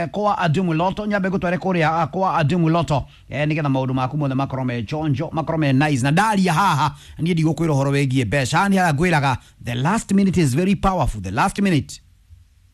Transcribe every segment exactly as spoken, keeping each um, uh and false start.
eh, kwa Adumu Lotto, nyambe ngũtware kũrĩa kwa Adumu Lotto eh, nĩgetha maũndũ maku mothe makorwo me chonjo, makorwo me nice. Na ndaria haha niĩ ndigũkwĩra ũhoro wĩgiĩ mbeca, haha nĩ harĩa ngwĩraga the last minute is very powerful. The last minute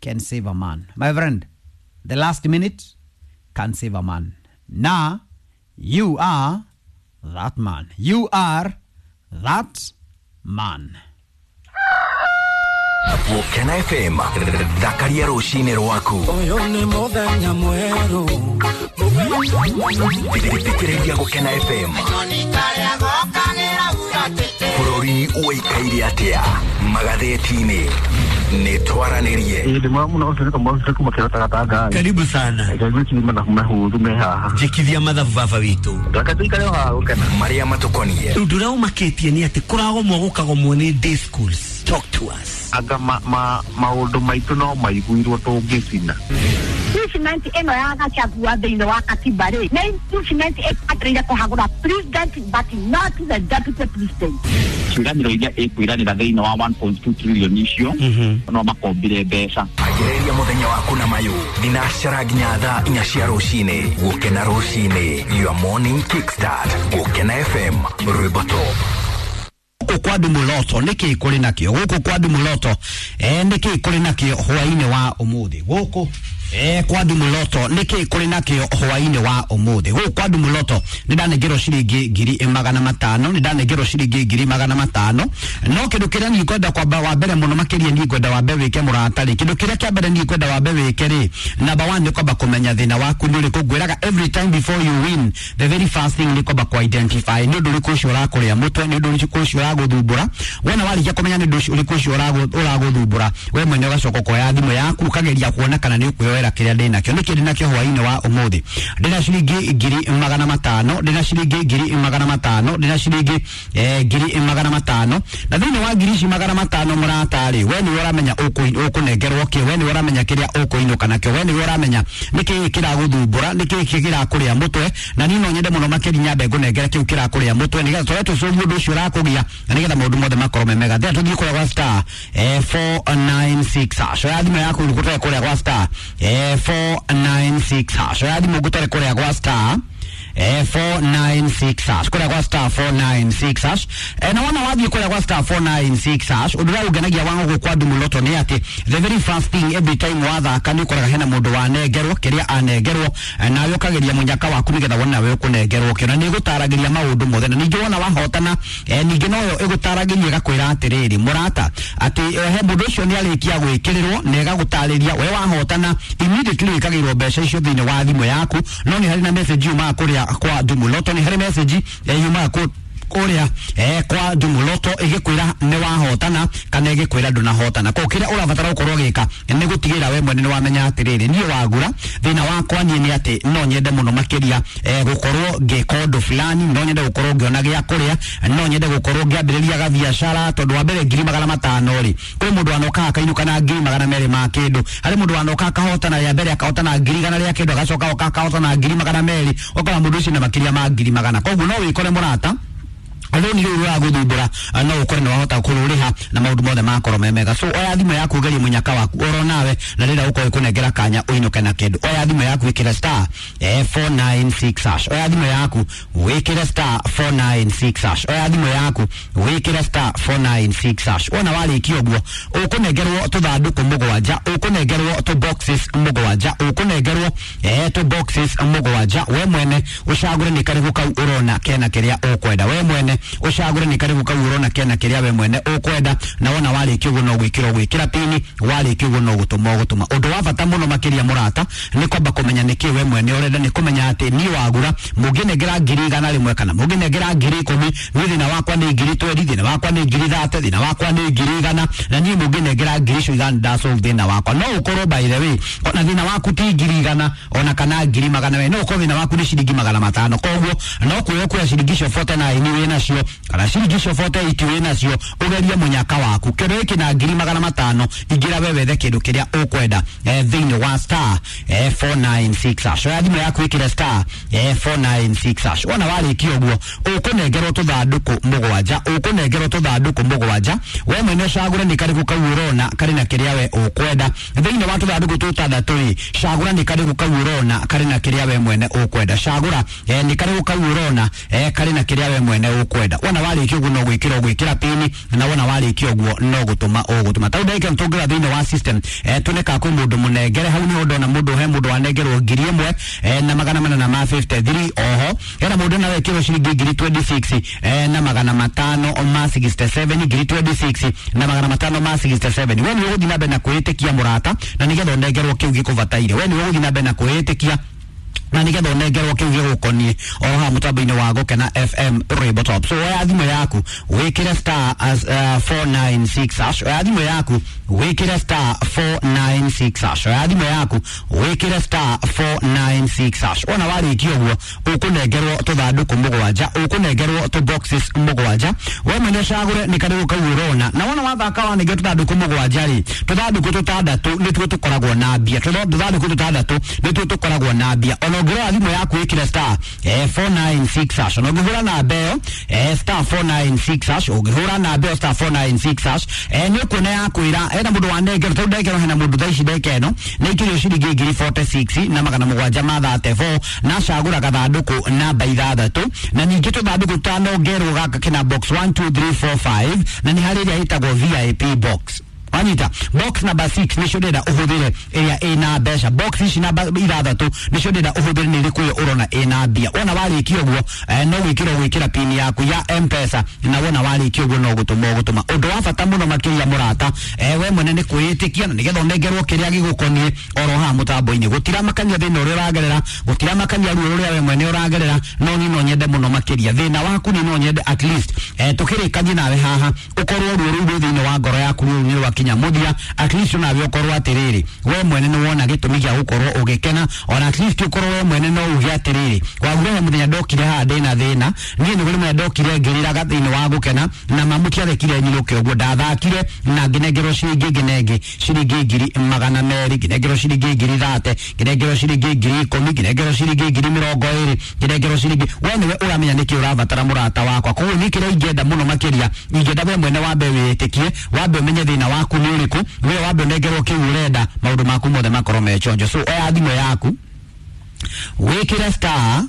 can save a man, my friend. The last minute can save a man. Na you are that man. You are that man. Gũkena F M thakaria rũcinĩ rwaku. Ũyũ nĩ mũthenya mwerũ. Thikĩrĩria Gũkena F M. Bũrũri ũikaire atĩa magathĩti-inĩ? Nĩ twaranĩrie. Ĩĩ ndĩ mwega mũno, ũcio nĩ Kamau kuma Kĩrota Gatanga. Karibu sana. Ngwĩciria mathabu mahũthũ me haha. Njĩkithia mathabu baba witũ. Reke tũikare o haha Gũkena. Marĩa matũkoniĩ. Ũndũ ũrĩa ũmakĩtie nĩ atĩ kũragomwo gũkagomwo nĩ day schools. Talk to us. Anga ma, ma, maũndũ maitũ no maiguirwo tũngĩcina. Impeachment ĩno ya Gachagua thĩinĩ wa katiba rĩ, nĩ impeachment ĩbataire kũhagũra president but not the deputy president. Ciĩranĩro iria ĩkwĩranĩra thĩinĩ wa one point two trillion icio, no makombire mbeca. Ambĩrĩria mũthenya waku na mayũ thinacara nginya thaa inya cia rũcinĩ. Gũkena rũcinĩ, your morning kickstart. Gũkena F M, rwĩmbo top. Gũkũ kwa Adumu Lotto nĩkĩ kũrĩ nakĩo? Gũkũ kwa Adumu Lotto eh, nĩkĩ kũrĩ nakĩo hwaĩ-inĩ wa ũmũthĩ? Gũkũ eh, kwa Adumu Lotto nĩkĩ kũrĩ nakĩo hwaĩ-inĩ wa ũmũthĩ? Gũkũ kwa Adumu Lotto nĩ ndanengerwo ciringi ngiri magana matano, nĩ ndanengerwo ciringi ngiri magana matano. No kĩndũ kĩrĩa niĩ ngwenda kwamba wa mbere mũno makĩria niĩ ngwenda wambe wĩke mũrata rĩ, kĩndũ kĩrĩa kĩa mbere niĩ ngwenda wambe wĩke rĩ, number one nĩ kwamba kũmenya thĩna waku nĩ ũrĩkũ. Ngwĩraga every time before you win, the very first thing nĩ kwamba kũ identify nĩ ũndũ ũrĩkũ ũcio ũrakũrĩa mũtwe, nĩ ũndũ ũrĩkũ ũcio ũragũthumbũra. Wona warĩkia kũmenya nĩ ũndũ ũrĩkũ ũcio ũragũthumbũra, we mwene ũgacoka ũkoya thimũ yaku ũkageria kuona kana nĩ ũkwĩyoera kĩrĩa ndĩnakĩo. Nĩkĩ ndĩnakĩo hwaĩ-inĩ wa ũmũthĩ? Ndĩna ciringi ngiri magana matano, ndĩna ciringi ngiri magana matano, ndĩna ciringi eh, ngiri magana matano. Na thĩinĩ wa ngiri ici magana matano mũrata rĩ, we nĩwe ũramenya ũkũnengerwo kĩ, we nĩwe ũramenya kĩrĩa ũkũinũka nakĩo, we nĩwe ũramenya nĩkĩ kĩragũthumbũra, nĩkĩ kĩrakũrĩa mũtwe. Na niĩ no nyende mũno makĩria nyambe ngũnengere kĩu kĩrakũrĩa mũtwe, nĩgetha tũrĩa tũcomu ũndũ ũcio ũrakũgia, na nĩgetha maũndũ mothe makorwo me mega. Thĩa tũthiĩ kũrĩa gwa star eh, four nine six hash. Oya thimũ yaku ngũtware kũrĩa gwa star eh, four nine six hash. Oya thimũ ngũtware kũrĩa gwa star eh, four nine six hash. Kũrĩa gwa star four nine six hash. Eh, na wona wathiĩ kũrĩa gwa star four nine six hash, ũndũ ũrĩa ũngenagia wa gũkũ kwa Adumu Lotto nĩ atĩ the very first thing every time wathaka nĩ ũkoraga hena mũndũ wanengerwo kĩrĩa anengerwo, nawe ũkageria mũnyaka waku nĩgetha wone nawe ũkũnengerwo kĩo, na nĩ ĩgũtaragĩria maũndũ mothe. Na ningĩ wona wahotana, eh, ningĩ noyo ĩgũtaragĩria ĩgakwĩra atĩrĩrĩ mũrata, atĩ he mũndũ ũcio nĩ arĩkia gwĩkĩrĩrwo na ĩgagũtarĩria we wahotana immediately wĩkagĩrwo mbeca icio thĩinĩ wa thimũ yaku. No nĩ harĩ na message yumaga kũrĩa kwa Adumu Lotto, nĩ harĩ message yumaga kũ kũrĩa eh, kwa Adumu Lotto ĩgĩkwĩra nĩ wahotana kana ĩgĩkwĩra ndũnahotana. Koguo kĩrĩa ũrabatara gũkorwo ũgĩka nĩ gũtigĩrĩra we mwene nĩ wamenya atĩrĩrĩ, niĩ wagura thĩna wakwa niĩ nĩ atĩ no nyende mũno makĩria eh, gũkorwo ngĩka ũndũ fulani, no nyende gũkorwo ngĩona gĩa kũrĩa, no nyende gũkorwo ngĩambĩrĩria gabiacara. Tondũ wa mbere ngiri magana matano rĩ, kwĩ mũndũ wanoka akainũka na ngiri magana merĩ ma kĩndũ, harĩ mũndũ wanoka akahotana rĩa mbere akahotana ngiri igana rĩa kĩndũ, agacoka oka akahotana ngiri magana merĩ, ũkora mũndũ ũcio na makĩria ma ngiri magana. Koguo no wĩkore mũrata rũni rũu rũragũthumbũra no ũkore nĩ wahota kũrũrĩha na maũndũ mothe makorwo me mega. So oya thimũ yaku ũgerie mũnyaka waku oro nawe, na rĩrĩa ũkorwo ĩkũnengera kanya ũinũke na kĩndũ. Oya thimũ yaku wĩkĩre star eh, four nine six hash. Oya thimũ yaku wĩkĩre star four nine six hash. Oya thimũ yaku wĩkĩre star four nine six hash. Wona warĩkia ũguo ũkũnengerwo tũthandũkũ mũgwanja, ũkũnengerwo tũ boxes mũgwanja, ũkũnengerwo eh, tũ boxes mũgwanja. We mwene ũcagũre nĩ karĩkũ kau ũrona kena kĩrĩa ũkwenda. We mwene ũcagũre nĩ karĩkũ kau ũrona kena kĩrĩa we mwene ũkwenda. Na wona warĩkia ũguo no gwĩkĩra ũgwĩkĩra pini, warĩkia ũguo no gũtũma ũgũtũma. Ũndũ wa bata mũno makĩria mũrata nĩ kwamba kũmenya nĩkĩ we mwene ũrenda, nĩ kũmenya atĩ niĩ wagura mũngĩnengera ngiri igana rĩmwe kana mũngĩnengera ngiri ikũmi, niĩ thĩna wakwa nĩ ngiri twendi, thĩna wakwa nĩ ngiri thate, thĩna wakwa nĩ ngiri igana, na niĩ mũngĩnengera ngiri icio igana ndasolve thĩna wakwa. No ũkorwo by the way ona thĩna waku ti ngiri igana ona kana ngiri magana merĩ, no ũkorwo thĩna waku nĩ ciringi magana matano. Koguo no kuoya kuoya ciringi icio forty nine wĩna nacio kana ciringi icio forty eight wĩ nacio ũgerie mũnyaka waku kĩndũ gĩkĩ na ngiri magana matano ingĩra we wethe kĩndũ kĩrĩa ũkwenda eh, thĩinĩ wa star eh, four nine six hash. Oya thimũ yaku ĩkĩre star eh, four nine six hash. Wona warĩkia ũguo ũkũnengerwo tũthandũkũ mũgwanja, ũkũnengerwo tũthandũkũ mũgwanja, we mwene ũcagũre nĩ karĩkũ kau ũrona karĩ na kĩrĩa we ũkwenda. Thĩinĩ wa tũthandũkũ tũtandatũ rĩ, cagũra nĩ karĩkũ kau ũrona karĩ na kĩrĩa we mwene ũkwenda. Cagũra eh, nĩ karĩkũ kau ũrona eh, karĩ na kĩrĩa we mwene ũkwenda. Wona warĩkia ũguo no gwĩkĩra ũgwĩkĩra pini, na wona warĩkia ũguo no gũtũma ũgũtũma. Tau ndagĩka nĩtũngĩra thĩinĩ wa system eh, tune ka kwĩ mũndũ mũnengere hau nĩho ndona mũndũ he mũndũ wanengerwo ngiri ĩmwe eh, na magana manana ma fifty three oho hena mũndũ nawe kĩrwo ciringi ngiri twenty six eh, na magana matano ma sixty seven ngiri twenty six na magana matano ma sixty seven. We nĩwe ũgũthiĩ na mbere na kwĩĩtĩkia mũrata na nĩgetha ũnengerwo kĩu gĩkũbataire. We nĩwe ũgũthiĩ na mbere na kwĩĩtĩkia na nĩgetha ũnengerwo kĩu gĩgũkoniĩ o haha mũtambo-inĩ wa Gũkena F M Rainbow Top. So oya thimũ yaku wĩkĩre star as, uh, four nine six hash. Oya thimũ yaku wĩkĩre star four nine six hash. Oya thimũ yaku wĩkĩre star four nine six hash. Wona warĩkia ũguo ũkũnengerwo tũthandũkũ mũgwanja, ũkũnengerwo tũ boxes mũgwanja, we mwene ũcagũre nĩ karĩkũ kau ũrona. Na wona wathaka wanengerwo tũthandũkũ mũgwanja rĩ, tũthandũkũ tũtandatũ nĩtuo tũkoragwo na mbia, tũthandũkũ tũtandatũ nĩtuo tũkoragwo na mbia. Ona ũngĩrora thimũ yaku ĩkĩre star eh, four nine six hash. Ona ũngĩhũra namba ĩyo eh, star four nine six hash, ũngĩhũra namba ĩyo star four nine six hash eh, nĩ ũkuona yakwĩra hena mũndũ wanengerwo. Tondũ ndengerwo hena mũndũ thaa ici ndeka ĩno nĩ aikĩrio ciringi ngiri forty six na magana mũgwanja ma thirty four na acagũra gathandũkũ namba ithathatũ, na ningĩ tũthandũkũ tũtano gaka kena box one two three four five na nĩ harĩ ĩrĩa ĩtagwo V I P box. Wanyita box number six nicio ndĩrenda ũhũthĩre ĩrĩa ĩna mbeca. Box ici namba ithathatũ nicio ndĩrenda ũhũthĩre nĩ ĩrĩkũ ĩyo ũrona ĩna mbia. Wona warĩkia ũguo eh, no gwĩkĩra ũgwĩkĩra pin yaku ya M-Pesa, na wona warĩkia ũguo no gũtũma ũgũtũma. Ũndũ wa bata mũno makĩria mũrata eh, we mwene nĩ kwĩĩtĩkia na nĩgetha ũnengerwo kĩrĩa gĩgũkoniĩ oro haha mũtambo-inĩ. Gũtiramakania thĩna ũrĩa ũragerera, gũtiramakania ruo rũrĩa we mwene ũragerera, no niĩ no nyende mũno makĩria thĩna waku niĩ no nyende at least eh, tũkĩrĩkanie nawe haha ũkorwo ruo rũu rwĩ thĩinĩ wa ngoro yaku rũu nĩ rwakinya mũthia, at least nawe ũkorwo atĩrĩrĩ we mwene nĩ wona gĩtũmi gĩa gũkorwo ũgĩkena, ona at least ũkorwo we mwene no uge atĩrĩrĩ wagure he mũthenya ndokire haha ndĩna thĩna, niĩ nĩ kũrĩ mũthenya ndokire ngĩrĩraga thĩinĩ wa gũkena na mamũtiarekire nyinũke ũguo, ndathakire na ngĩnengerwo ciringi ĩngĩ na ĩngĩ, ciringi ngiri magana merĩ, ngĩnengerwo ciringi ngiri thate, ngĩnengerwo ciringi ngiri ikũmi, ngĩnengerwo ciringi ngiri mĩrongo ĩrĩ, ngĩnengerwo ciringi. We nĩwe ũramenya nĩkĩ ũrabatara mũrata wakwa. Koguo niĩ kĩrĩa ingĩenda mũno makĩria, ingĩenda we mwene wambe wĩĩtĩkie, wambe ũmenye thĩna waku nĩ ũrĩkũ, we wambe ũnengerwo kĩu ũrenda, maũndũ maku mothe makorwo me chonjo. So oya thimũ yaku wĩkĩre star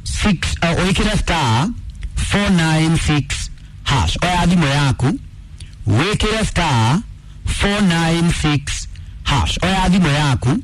six uh, wĩkĩre star four nine six hash. Oya thimũ yaku wĩkĩre star four nine six hash. Oya thimũ yaku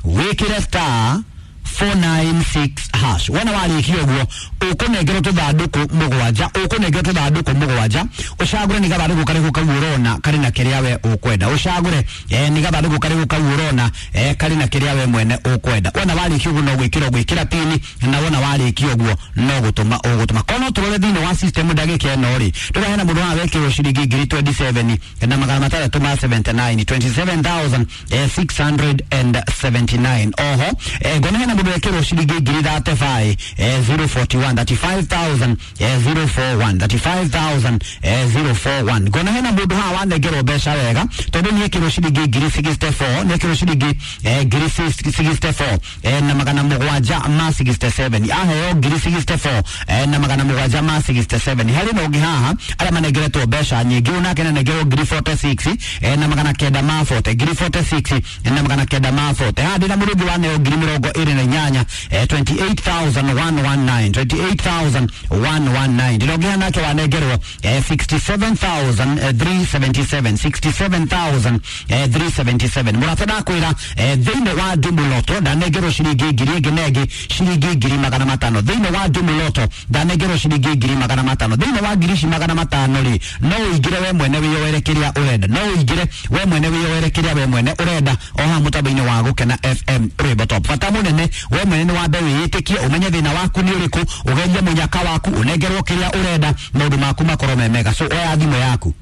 wĩkĩre star four nine six hash. Wona warĩkia ũguo ũkũnengerwo tũthandũkũ mũgwanja, ũkũnengerwo tũthandũkũ mũgwanja, ũcagũre nĩ gathandũkũ karĩkũ kau ũrona karĩ na kĩrĩa we ũkwenda. Ũcagũre eh, nĩ gathandũkũ karĩkũ kau ũrona eh, karĩ na kĩrĩa we mwene ũkwenda. Wona warĩkia ũguo no gwĩkĩra ũgwĩkĩra pini, na wona warĩkia ũguo no gũtũma ũgũtũma. Korwo no tũrore thĩinĩ wa system ndagĩka ĩno rĩ, ndũrona hena mũndũ haha wekĩrwo ciringi ngiri twenty seven na magana matandatũ ma seventy nine, twenty seven thousand six hundred and seventy nine. Oho eh, ngona hena mũndũ wekĩrwo ciringi ngiri thirty five eh, zero forty one, thirty five thousand eh, zero four one, thirty five thousand eh, zero four one. Ngona hena mũndũ haha wanengerwo mbeca wega tondũ nĩ ekĩrwo ciringi ngiri sixty four, nĩ ekĩrwo ciringi eh, ngiri sixty four eh, na magana mũgwanja ma sixty seven, aheo ngiri sixty four eh, na magana mũgwanja ma sixty seven. Harĩ na ũngĩ haha arĩa manengeretwo mbeca nyingĩ, ũyũ nake nanengerwo ngiri forty six eh, na magana kenda ma forty, ngiri forty six na magana kenda ma forty. Haha ndĩna mũndũ ũngĩ waneo ngiri mĩrongo ĩrĩ na inyanya eh, twenty eight thousand one one nine, twenty eight thousand one one nine. Ndĩrongea nake wanengerwo eh, sixty seven thousand three seventy seven, sixty seven thousand three seventy seven. Mũrata ndakwĩra eh, thĩinĩ wa Ndumuloto ndanengerwo ciringi ngiri ĩngĩ na ĩngĩ ciringi ngiri magana matano. Thĩinĩ wa Ndumuloto ndanengerwo ciringi ngiri magana matano. Thĩinĩ wa ngiri ici magana matano rĩ, no ũingĩre we mwene wĩyoere kĩrĩa ũrenda, no ũingĩre we mwene wĩyoere kĩrĩa we mwene ũrenda o haha mũtambo-inĩ wa Gũkena F M Rainbow Top. Bata mũnene we mwene nĩ wambe wĩĩtĩkie, ũmenye thĩna waku nĩ ũrĩkũ, ũgerie mũnyaka waku, ũnengerwo kĩrĩa ũrenda, maũndũ maku makorwo me mega. So oya thimũ yaku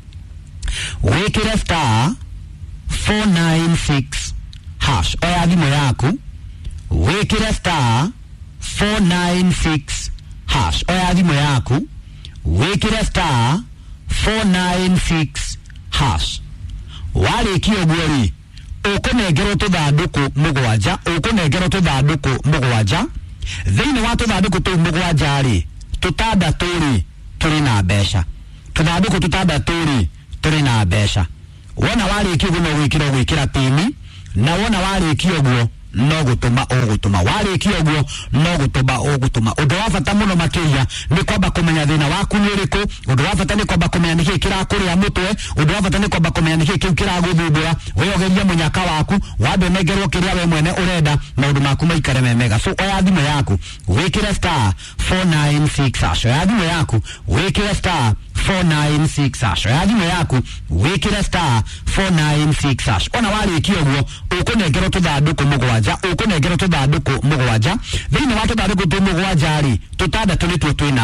wĩkĩre star four nine six hash. Oya thimũ yaku wĩkĩre star four nine six hash. Oya thimũ yaku Wĩkĩre star four nine six hash. Warĩkia ũguo rĩ, ũkũnengerwo tũthandũkũ mũgwanja, ũkũnengerwo tũthandũkũ mũgwanja. Thĩinĩ wa tũthandũkũ tũu mũgwanja rĩ, tũtandatũ rĩ tũrĩ na mbeca, tũthandũkũ tũtandatũ rĩ tũrĩ na mbeca. Wona warĩkia ũguo no gwĩkĩra ũgwĩkĩra pini, na wona warĩkia ũguo no gũtũma ũgũtũma, warĩkia ũguo no gũtũma ũgũtũma. Ũndũ wa bata mũno makĩria nĩ kwamba kũmenya thĩna waku nĩ ũrĩkũ. Ũndũ wa bata nĩ kwamba kũmenya nĩkĩĩ kĩrakũrĩa mũtwe. Ũndũ wa bata nĩ kwamba kũmenya nĩkĩĩ kĩu kĩragũthumbũra. We ũgerie mũnyaka waku, wambe ũnengerwo kĩrĩa we mwene ũrenda, maũndũ maku maikare me mega. So oya thimũ yaku wĩkĩre star four nine six hash. Oya thimũ yaku wĩkĩre star four nine six hash. Oya thimũ yaku wĩkĩre star four nine six hash. Ona warĩkia ũguo ũkũnengerwo tũthandũkũ mũgwanja, ũkũnengerwo tũthandũkũ mũgwanja. Thĩinĩ wa tũthandũkũ tũu mũgwanja rĩ, tũtandatũ nĩtuo twĩna